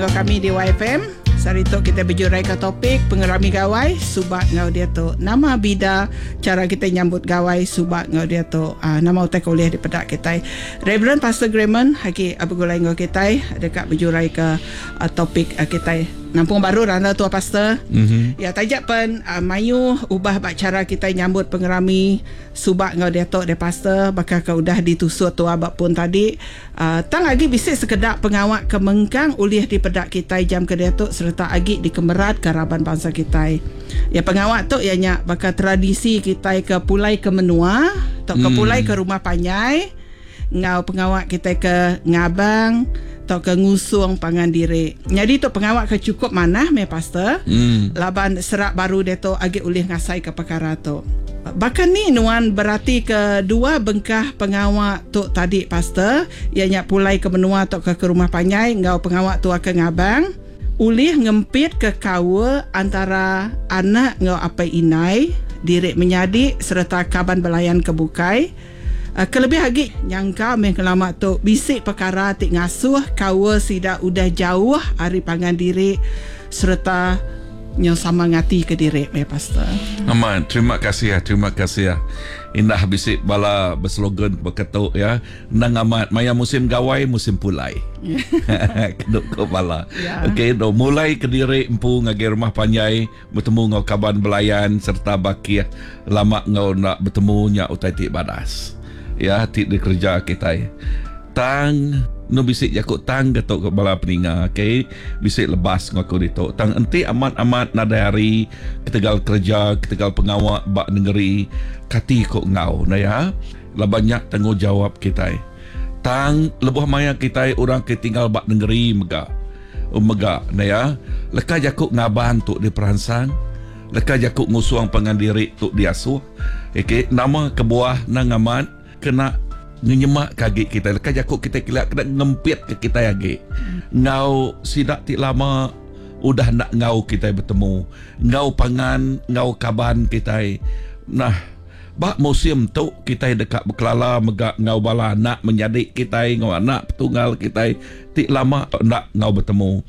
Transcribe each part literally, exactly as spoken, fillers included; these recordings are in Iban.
Enggau kami di Y F M. Sehari tu kita bejurai ke topik pengerami gawai suba enggau diatu. Nama bida cara kita nyambut gawai suba enggau diatu? Uh, nama utai ke ulih dipeda kita? Reverend Pastor Grayman lagi begulai enggau kita deka bejurai ke uh, topik uh, kita. Nampung baru randa tua, pastor. Mm-hmm. Ya, tajak pen uh, mayu ubah bak cara kita nyambut pengerami suba enggau diatu de, pastor, bakal ke udah ditusut tua bak pun tadi. Uh, tang lagi bisi sekedak pengawak ke mengkang ulih dipeda kita jam ke diatu serta agi dikemerat ke raban bangsa kita. Ya, pengawak tu ianya bakal tradisi kita ke pulai ke menua atau ke hmm. pulai ke rumah panjai ngau pengawak kita ke ngabang atau ke ngusung pangan diri. Jadi tu pengawak ke cukup manah me, pastor. Hmm. Laban serak baru dia tu agi ulih ngasai ke perkara tu. Bahkan ni nuan berarti ke dua bengkah pengawak tu tadi, pastor, ianya pulai ke menua atau ke, ke rumah panjai ngau pengawak tu ke ngabang ulih ngempit ke kawa antara anak ngau apai inai, diri menyadi serta kaban belayan ke bukai. Uh, kelebih lagi nyangka meh kelama tu bisi perkara ti ngasuh kawa sida udah jauh ari pangan diri serta yang sama ngati ke diri meh, pastor. Aman, terima kasih ya, terima kasih ya. Indah bisi bala berslogan berketuk ya. Nang amat maya musim gawai, musim pulai. Keduk ke bala. Ya. Okey, do mulai ke diri empu ngagai rumah panjai bertemu ngau kaban belayan serta bakih lama ngau nak bertemu nya utai ti badas. Ya, ti dikerja kita. Tang nu bisi jaku tang ketuk ke bala peninga, okey, bisi lebas ngaku ditu. Tang enti amat-amat nadai hari ketegal kerja, ketegal pengawak bak negeri, kati kok ngau na ya. Lah banyak tanggungjawab kita. Tang lebuh maya kita orang ke tinggal bak negeri mega. Mega na ya. Leka jaku ngaban tu di peransang. Leka jaku ngusuang pengandiri tu diasuh. Okey, nama kebuah nang amat kena ngenyemak kagi kita. Leka jaku kita kila kena ngempit ke kita lagi. Ngau sidak ti lama udah nak ngau kita bertemu. Ngau pangan, ngau kaban kita. Nah, bak musim tu kita dekat berkelala megak ngau bala anak menjadi kita, ngau anak petunggal kita ti lama nak ngau bertemu.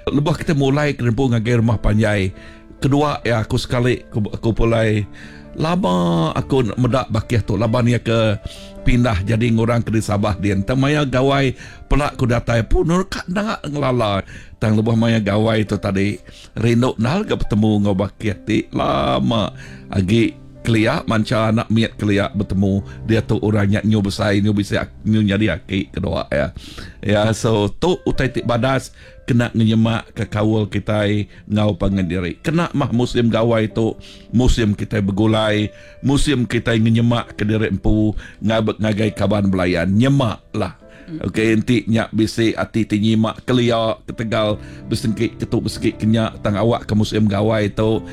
Lebuh kita mulai ke ngagai rumah panjai. Kedua ya aku sekali aku, aku pulai lama aku medak bakih tu laban ia ke pindah jadi ngurang ke di Sabah dia. Tang maya gawai pelak ku datai pun nur kat nak ngelala. Tang lebuh maya gawai tu tadi rindu nal ke bertemu ngau bakih ti lama agi keliak manca anak miat keliak bertemu dia tu orangnya nyu besar, nyu bisa nyu jadi aki kedua ya. Ya, so tu utai ti badas kena ngenyemak ke kawal kita ngau pangan diri. Kena mah musim gawai tu musim kita bergulai, musim kita ngenyemak ke diri empu ngabek ngagai kaban belayan nyemak lah. Okey, enti nyak bisi ati ti nyimak keliak ketegal besengkit ketuk besengkit kenyak, tang awak ke musim gawai tu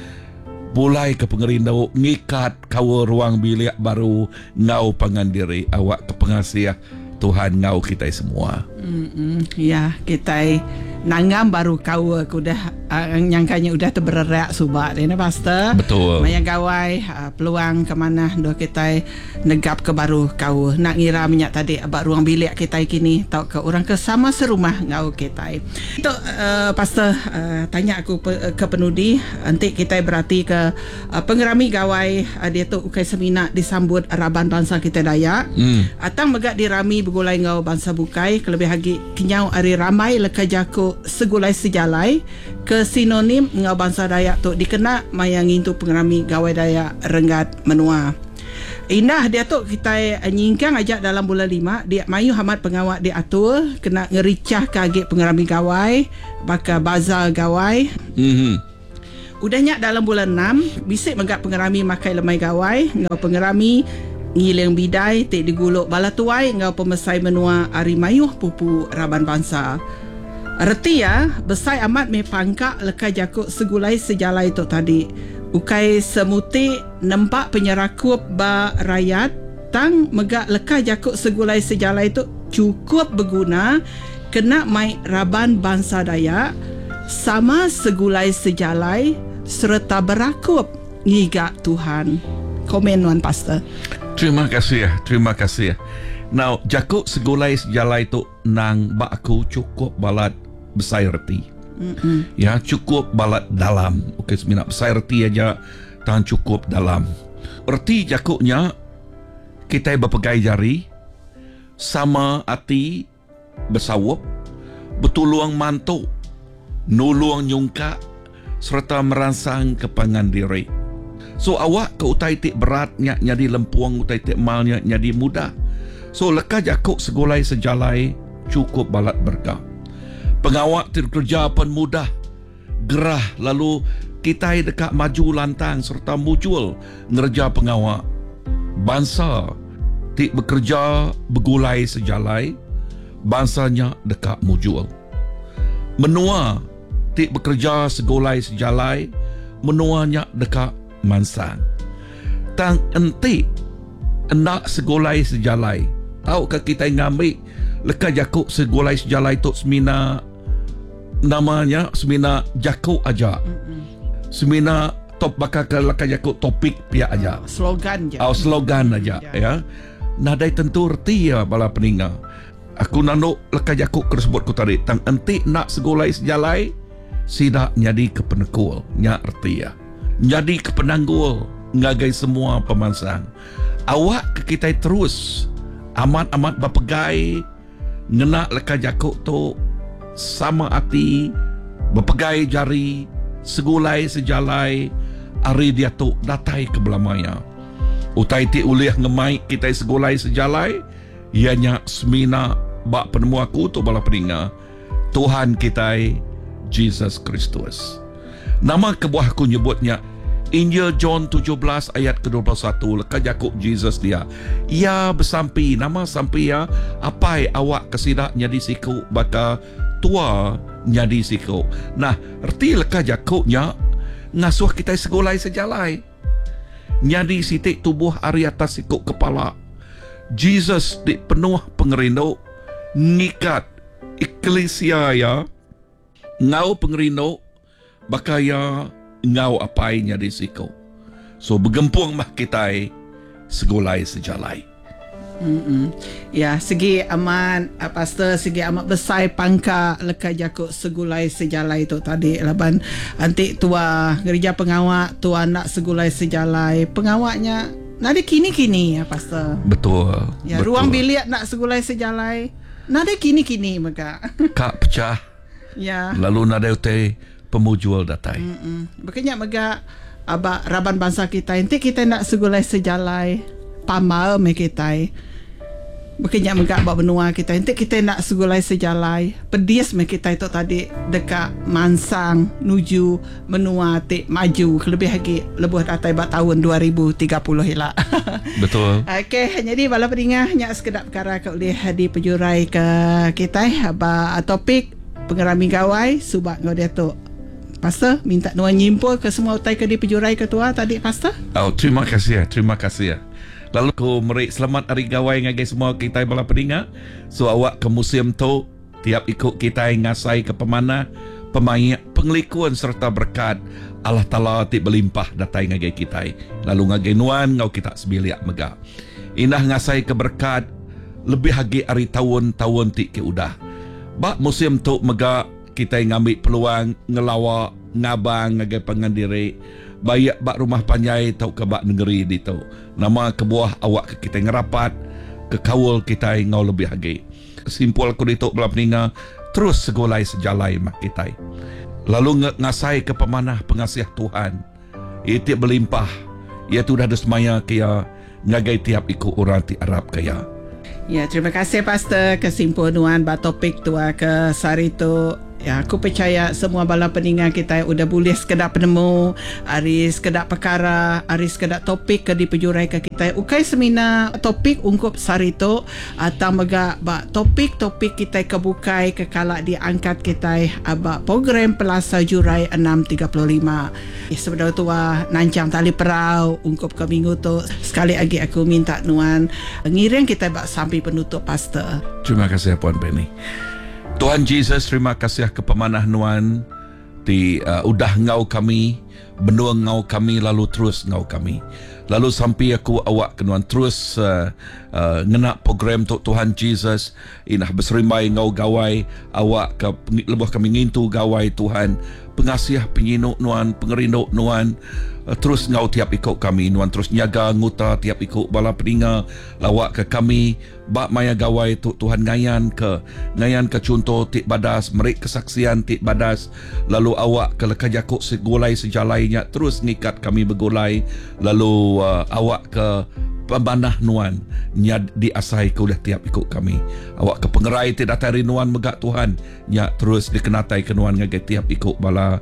pulai ke pengerindu ngikat kawa ruang bilik baru ngau pangan diri awak ke pengasih Tuhan ngau kita semua. Mm-mm. Ya, kita nanggam baru kawa ke udah uh, nyangkanya udah terbererak subak ni, pastor. Betul. Maya gawai uh, peluang ke mana dua kita negap ke baru kawa. Nak ngira minyak tadi abak ruang bilik kita kini tau ke orang ke sama serumah ngau kita. Itu uh, pastor, uh, tanya aku pe, ke penudi nanti kita berarti ke uh, pengerami gawai uh, dia tu ukai semina disambut raban bangsa kita Dayak. Hmm. Atang megak dirami begulai ngau bangsa bukai, kelebih lagi kenyau ari ramai leka jaku segulai sejalai ke sinonim ngau bangsa Dayak tu dikena maya ngintu pengerami gawai Dayak renggat menua. Indah dia tu kita nyingkang aja dalam bulan lima dia mayu hamat pengawak diatur kena ngericah ke agi pengerami gawai baka bazar gawai. Mhm. Udahnya dalam bulan enam bisik megak pengerami makai lemai gawai ngau pengerami ngiling bidai tik diguluk bala tuai ngau pemesai menua ari mayuh pupu raban bangsa. Reti ya, besai amat me pangkak leka jakuk segulai sejalai tu tadi. Ukai semuti nempak penyerakup ba rakyat, tang megak leka jakuk segulai sejalai tu cukup berguna kena mai raban bangsa Dayak sama segulai sejalai serta berakup ngiga Tuhan. Komen nuan, pastor. Terima kasih ya, terima kasih. Now, jakuk segulai sejalai tu nang bak aku cukup balat besai reti. Mm-mm. Ya, cukup balat dalam. Okey, semina besai reti aja, tang cukup dalam. Reti jakuknya kita berpegai jari, sama ati besawup, betulung mantu, nulung nyungkak serta meransang kepangan diri. So awak ke utai ti beratnya jadi lempuang, utai ti malnya jadi mudah. So leka jakuk segulai sejalai cukup balat berkah. Pengawak ti kerja pun mudah, gerah, lalu kita dekat maju lantang serta mujul ngerja pengawak. Bangsa ti bekerja begulai sejalai, bangsanya dekat mujul. Menua ti bekerja segulai sejalai, menuanya dekat mansang. Tang enti hendak segulai sejalai, tahu ke kita ngambil leka jakuk segulai sejalai tu semina namanya semina jakuk aja. Mm-mm. Semina top bakal ke leka jakuk topik pihak aja. Slogan je. Oh, slogan aja ya. Ya. Nadai tentu reti ya bala peninga. Aku nanduk leka jakuk tersebut ku tadi. Tang enti nak segulai sejalai, sidak jadi kepenekul nya reti ya. Jadi kepenanggul ngagai semua pemansang. Awak ke kita terus amat-amat berpegai ngena leka jakuk tu sama ati, berpegai jari, segulai sejalai, ari dia tu datai ke belamaya. Utai ti ulih ngemai kita segulai sejalai, ianya semina bak penemu aku tu bala peninga Tuhan kita Jesus Kristus. Nama kebuah aku nyebutnya Injil John tujuh belas ayat ke dua puluh satu leka jakuk Jesus dia. Ia bersampi, nama sampi ya, apai awak kesidak nyadi siku baka tua nyadi siku. Nah, erti leka jakuknya ngasuh kita segulai sejalai. Nyadi sitik tubuh ari atas siku kepala. Jesus di penuh pengerindu ngikat eklesia ya ngau pengerindu baka ya ngau apai nyadi siku. So bergempung mah kita segulai sejalai. Mm-mm. Ya, segi amat pastor, segi amat besar pangka leka jakuk segulai sejalai tu tadi laban antik tua gereja pengawak tua nak segulai sejalai pengawaknya nade kini-kini ya pastor. Betul. Ya, betul. Ruang bilik nak segulai sejalai nade kini-kini mega. Kak pecah. Ya. Lalu nade utai pemujual datai. Bekenya mega abak raban bangsa kita nanti kita nak segulai sejalai pamal me kita. Bekenya mega abak benua kita nanti kita nak segulai sejalai pedis me kita itu tadi dekat mansang nuju menua ti maju lebih lagi lebuh datai bak tahun dua ribu tiga puluh hila. Betul. Okey, jadi bala peningah nyak sekedap perkara ke boleh dipejurai ke kita abak topik pengerami gawai subak ngau dia tu. Pastor, minta nuan nyimpul ke semua utai ke dipejurai ketua tadi, Pastor. Oh, terima kasih ya, terima kasih ya. Lalu aku meri selamat hari gawai ngagai semua kita bala peninga. So awak ke musim tu tiap ikut kita ngasai ke pemanah, pemaik, pengelikuan serta berkat Allah Taala ti berlimpah datai ngagai kita. Lalu ngagai nuan ngau kita sebiliak mega. Indah ngasai ke berkat lebih lagi hari tahun-tahun ti ke udah. Bak musim tu mega kita ngambil peluang ngelawak ngabang ngagai pangan diri baik bak rumah panjai atau ke bak negeri ditu. Nama kebuah awak ke kita ngerapat ke kaul kita ngau lebih lagi. Simpul aku ditu bala peninga terus segulai sejalai mak kita. Lalu ngasai ke pemanah pengasih Tuhan. Ia tiap berlimpah. Ia tu dah ada semaya ke ia ngagai tiap ikut orang ti Arab ke ia. Ya, terima kasih Pastor kesimpulan bak topik tua ke sehari tu. Ya, aku percaya semua bala peningan kita udah boleh sekedar penemu, hari sekedar perkara, hari sekedar topik ke dipejurai ke kita. Ukai semina topik ungkup sehari tu atau mega bak topik-topik kita kebukai ke kalak diangkat kita abak program Pelasar Jurai enam tiga puluh lima. Sebenarnya tua nancang tali perau ungkup ke minggu tu. Sekali lagi aku minta nuan ngiring kita bak sampai penutup Pastor. Terima kasih Puan Penny. Tuhan Jesus, terima kasih ke pemanah nuan di uh, udah ngau kami Benung ngau kami lalu terus ngau kami. Lalu sampi aku awak ke nuan terus uh, uh, ngena program tu Tuhan Jesus inah beserimbai ngau gawai awak ke lebuh kami ngintu gawai Tuhan pengasih penyinu nuan pengerindu nuan uh, terus ngau tiap ikut kami nuan terus nyaga nguta tiap ikut bala peninga lawak ke kami bak maya gawai tu Tuhan ngayan ke ngayan ke contoh tik badas merik kesaksian tik badas lalu awak ke leka jakuk segulai sejalainya terus ngikat kami bergulai lalu uh, awak ke pembanah nuan nya diasai ke udah tiap ikut kami awak ke pengerai ti datai nuan megak Tuhan nya terus dikenatai ke nuan ngagai tiap ikut bala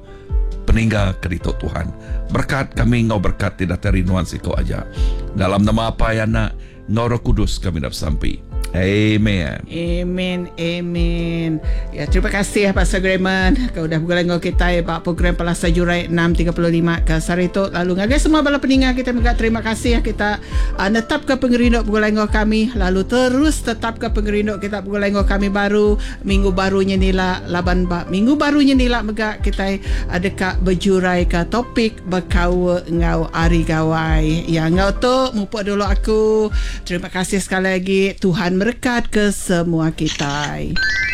peninggal kerito Tuhan berkat kami ngau berkat ti datai nuan siko aja dalam nama apa ya anak ngau Roh Kudus kami dah sampai. Amen. Amen. Amen. Ya, terima kasih Pastor Grayman kau dah bergulai dengan kita ba program Palasa Jurai enam tiga puluh lima ke sehari tu. Lalu ngagai semua bala peninggal kita juga terima kasih kita uh, netap ke pengerindu bergulai dengan kami lalu terus tetap ke pengerindu kita bergulai dengan kami baru minggu barunya nila laban ba minggu barunya nila mega kita uh, dekat berjurai ke topik berkau ngau ari gawai. Ya ngau tu mupuk dulu aku. Terima kasih sekali lagi. Tuhan berkat ke semua kita.